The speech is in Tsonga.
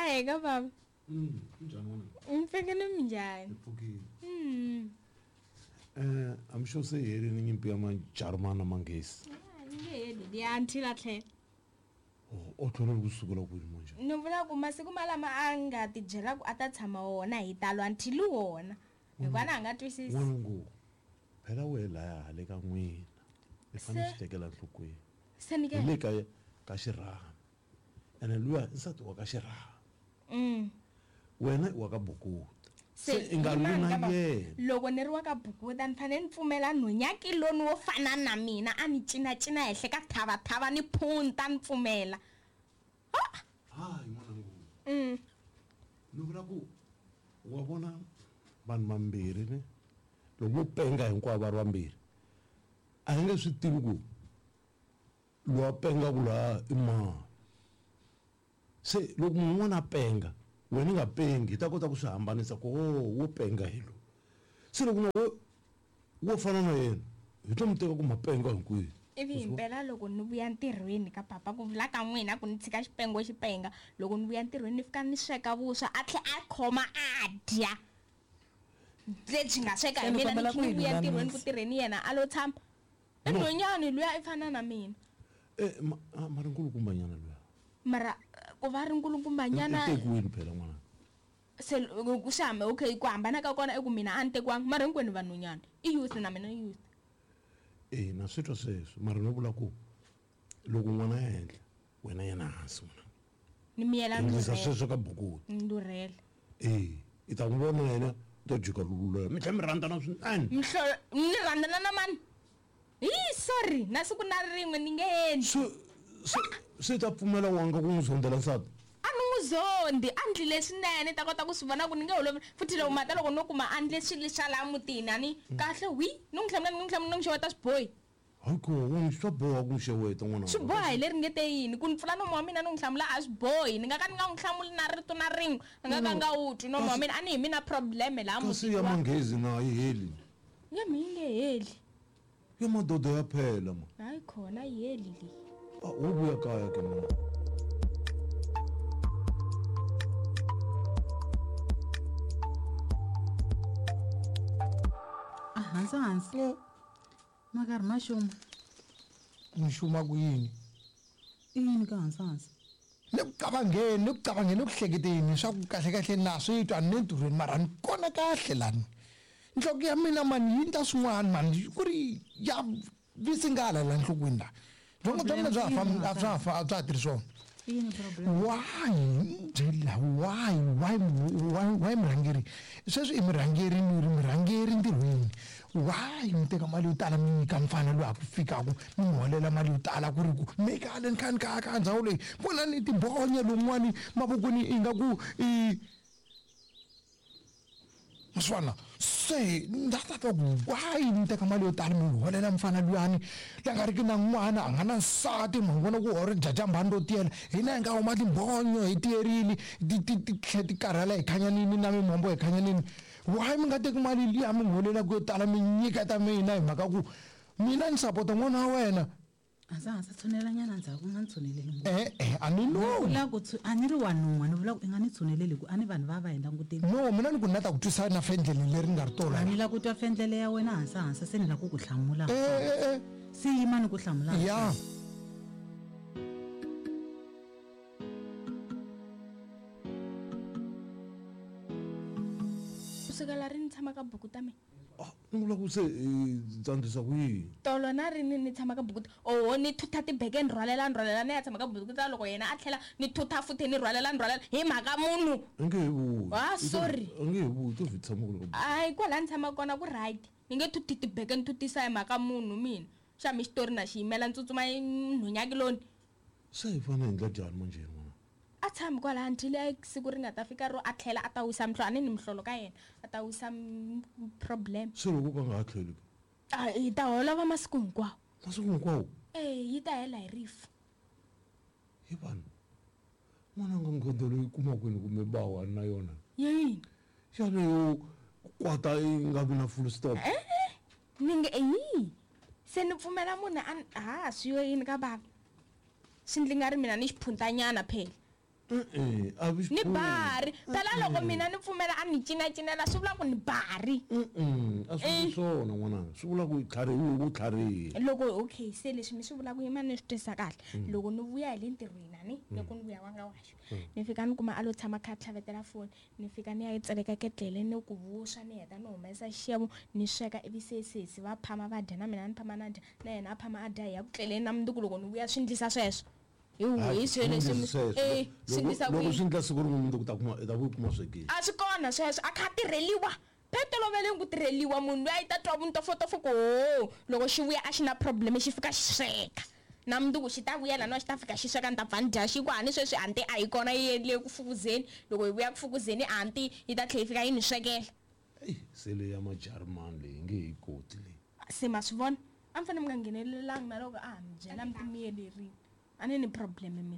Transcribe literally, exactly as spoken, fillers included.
Ahe ka baba. Mm, njani n'wana? Mpfekele minjhani? Hi pfukile. Mm. Eh, I'm sure se herini nyimpi ya Majarimani na Manghezi. Ah, ni nge heli liya until a tlhela. Oh, o tlhela ku sukela kwini manje? Ni vula ku masiku malama a nga ti byela ku a ta tshama wona hi talo until wona. Hikuva na a nga twisisi. N'wanangu, phela wehe laya hale ka n'wina. I fanele Se- swi tekela enhlokweni. Se ni ke. Hi le ka ka xirhami. Ene luya i nsati wa ka xirhami. Mm. Wena i wa ka Bukuta. Se Se i nga lwi yimani na ka baba. yena. Loko ni ri wa ka Bukuta ni fanele ni pfumela nhonyakuloni wo fana na mina a ni cinacina henhla ka thavathava ni phunta ni pfumela. Hayi n'wanangu. Mm. Ni vula ku wa vona vanhu vambirhi ne loko vo penga hinkwavo va ri vambirhi a hi nge swi tivi ku loyi a pengaku laha i mani. Se loko munhu un'wana a penga wena i nga pengi hi ta kota ku swi hambanisa ku o wo penga hi loyi. Se loko na wo wo fana na yena hi to mi teka ku ma penga hinkwenu. Ivi himpela loko ni vuya ntirhweni ka papa ku vula ka n'wina ku ni tshika xipengo xi penga loko ni vuya ntirhweni ni fika ni sweka vuswa a tlhela a khoma a dya lebyi nga sweka hi Se ni mina ni kombela kha ku ni yi vuya ntirhweni ku lulamisa. tirheni yena a lo tshama. I No. nhwanyana luya i fana na mina. Eh, ma ah, mara nkulukumbanyana luya. Mara ku va ri nkulukumbanyana I tekiwini phela n'wana. se ku swi hamba okay ku hambana ka kona i ku mina a ni tekiwanga mara hinkwenu vanhwanyana i youth na mina i youth. Eh, na swi twa sweswo mara no vula ku loko n'wana ya henhla wena yena hansi n'wana. Ni miyela ni Endlisa rhurhela. sweswo ka Bukuta. Ni rhurhela. Eh, i ta n'wi vona yena u ta jika lula mi tlhela mi rhandzana swinene. Mihlolo ni rhandzana na mani? Hi sorry na siku na rin'we ni nge endli. Se se se ta pfumela wanga ku n'wi zondela nsati. A ni n'wi zondi a ndlile swinene ni ta kota ku swi vona ku ni nge holovi futhi loko mata loko no kuma a ndle swilo swa laha mutini a ni kahle wi ni n'wi hlamula ni n'wi hlamula ni n'wi xeweta swi bohi. Hayi ko n'wi swa boha ku n'wi xeweta n'wana. Swi boha hi leri nge te yini ku ni pfula nomu wa mina ni n'wi hlamula a swi bohi ni nga ka ni nga n'wi hlamuli na rito na rin'we a nga ka nga wu twi nomu wa mina a ni hi mina problem laha Kasi mutini ya wa. Manghezi na yi heli. Ya mi yi nge heli. Ya madoda ya phela ma. Hayi khona yi heli leyi. Ah, wo vuya kaya ke n'wana. A hansi hansi. Ma karhi ma xuma. Ni xuma ku yini? I yini ka hansi hansi? Ni ku cabangeni, ni ku cabangeni, ni ku hleketeni swa ku kahle kahle na swi twa ni ntirhweni mara ni kona kahle lani. Nhloko ya mina mani yi endla swin'wana mani ku ri ya visingala la nhlokweni la. Byongo bya mina bya ha fambi a bya ha fa a bya ha tirhi swona. I yini problem? Why byela why why why why murhangeri sweswi i murhangeri ni ri murhangeri ntirhweni why mi teka mali yo tala mi nyika mfana loyi a ku fikaku mi n'wi holela mali yo tala ku ri ku mi kale ni kha ni kha ka ndhawu leyi vonani tibonya lowun'wani mavokweni ingaku i maswana se na ta twa ku why mi teka mali yo tala mi holela mfana luyani la nga riki na n'wana a nga na nsati ma vona ku hore jajambani ro tiyela hina hi nga huma timbonyo hi tiyerini ti ti ti tlhe ti karhala hi khanyanini na mimombo hi khanyanini why mi nga teki mali liya mi n'wi holelaka yo tala mi nyiketa mina hi mhaka ku mina ni sapota n'wana wa wena. Hansi hansi tshunelanyana ndzhaku u nga ni tshuneleli ngopfu. Eh eh a ni Ni loyi. vula ku tshu- a ni ri wa nun'hwa ni vula ku i nga ni tshuneleli ku a ni vanhu va va hi langutile. No mina ni ku ni la ta ku twisa na fendlele leri nga ri tola. A ni la ku twa fendlele ya wena hansi hansi se ni la ku ku hlamula. Eh eh eh. Se yima ni ku hlamula. Ya. Kusukela rini ni tshama ka buku ta mina? Ah, ni vula ku se i tsandzisa ku yini? Tolo na rini ni tshama ka buku ta oho ni thutha tibeke ni rhwalela ni rhwalela ni ya tshama ka buku ta loko yena a tlhela ni thutha futhi ni rhwalela ni rhwalela hi mhaka munhu. A nge he vuyi. Ah, I to- sorry. A nge he vuyi to vhi tshama ku le ka buku. Hayi kwala ni tshamaka kona ku right. Ni nge thuthi tibeke ni thutisa hi mhaka munhu mina. Xa mi xitori na xi yimela ni tsutsuma nhonyakuloni. Se hi fanele hi endla njhani manjhe n'wana? A tshami kwalaha until a siku ri nga ta fika ro a tlhela a ta wisa mihlolo a ni ni mihlolo ka yena a ta wisa m- problem. Se loko ka nga ha tlheli ke? A hi ta holova masiku hinkwawo. Masiku hinkwawo? Eh yi ta hela hi rifu. Hi vanhu. N'wana nga nghondo leyi kuma kwini kumbe bawa na yona? Ya yini? Xana yo kwata yi nga vi na full stop? Eh ni nge yi. Se ni pfumela munhu a ha swi yo yini ka bava. Swi ndli nga ri mina ni xiphuntanyana phela. E-e, a vi Ni bari phela loko mina ni pfumela a ni cinacinela swi vula ku ni bari. Mm-mm, a swi vuli swona n'wananga, swi vula ku i tlharihi u tlharihi. Loko okay se leswi mi swi vulaka yima ni swi twisisa kahle. Loko ni vuya hi le ntirhweni a ni loko ni vuya wa nga waxo ni fika ni kuma a lo tshama kha a tlhavetela foni, ni fika ni ya yi tseleka ketlele ni ku vuswa ni heta ni humesa xixevo ni sweka ivi se sesi va phama va dya na mina ni phama na dya na yena a phama a dya hi ya ku tleleni na mundzuku loko ni vuya swi ndlisa sweswo. Hi hi swilo leswi mi- eh, swi ndlisa ku loko yini? swi ndla siku rin'we mundzuku ta kuma i ta ku kuma swekile. A swi kona sweswo a kha a tirheliwa phela toloveleni ku tirheliwa munhu loyi a yi ta twa vuntofotofo ku ho loko xi vuya a xi na problem xi fika xi sweka na mundzuku xi ta vuya laniwa xi ta fika xi sweka ni ta pfa ni dya xi ku hani sweswi anti a yi kona yi endle ku fukuzeni loko hi vuya ku fukuzeni anti yi ta tlhela yi fika yi ni swekela. Eyi se leyi ya majarimani leyi nge he yi koti leyi. Se ma swi vona a mi fanele mi nga nghenelelangi na loko a ha mi byela mi timiyelerini a ni ni problem mina.